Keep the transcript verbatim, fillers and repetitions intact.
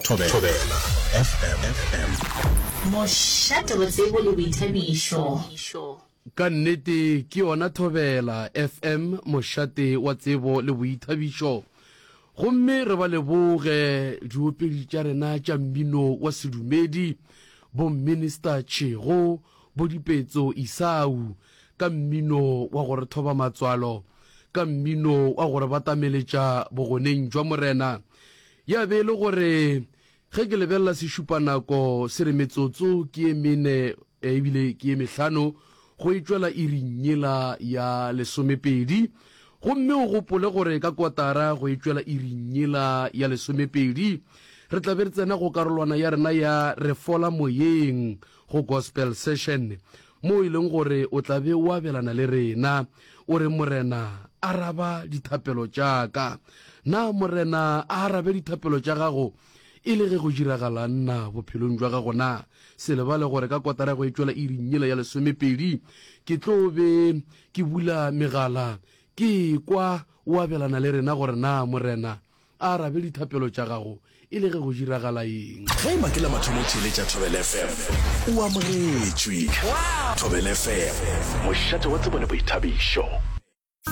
Thobela F M. Mošate wa tsebo le boithabišo. Ka nnete ke yona Thobela F M, mošate wa tsebo le boithabišo. Gomme re ba leboge diopedi tša rena tša mmino wa sedumedi, bo Minister Tšhego, bo Dipetso Isau, ka mmino wa go re thoba matswalo, ka mmino wa go re batameletša bogoneng jwa Morena. Ya be e le gore ge ke lebelela sešupanako se re metsotso ke ye mene ebile ke ye mehlano go e tšwela iring yela ya lesomepedi. Gomme o gopole gore ka kotara go e tšwela iring yela ya lesomepedi re tla be re tsena go karolwana ya rena ya Re Fola Moyeng go Gospel Session, mo e leng gore o tla be o abelana le rena o re, Morena, araba dithapelo tša ka. Na Morena a arabe dithapelo tša gago e le ge go diragalang na bophelong jwa gago na? Se lebale gore ka kotara go e tšwela iring yela ya lesomepedi ke tlo be ke bula megala ke kwa o abelana le rena gore na Morena a arabe dithapelo tša gago e le ge go diragala eng. Ge e ba ke la mathomo o theeletša Thobela F M, o amogetšwe. Thobela F M, mošate wa tsebo le boithabišo.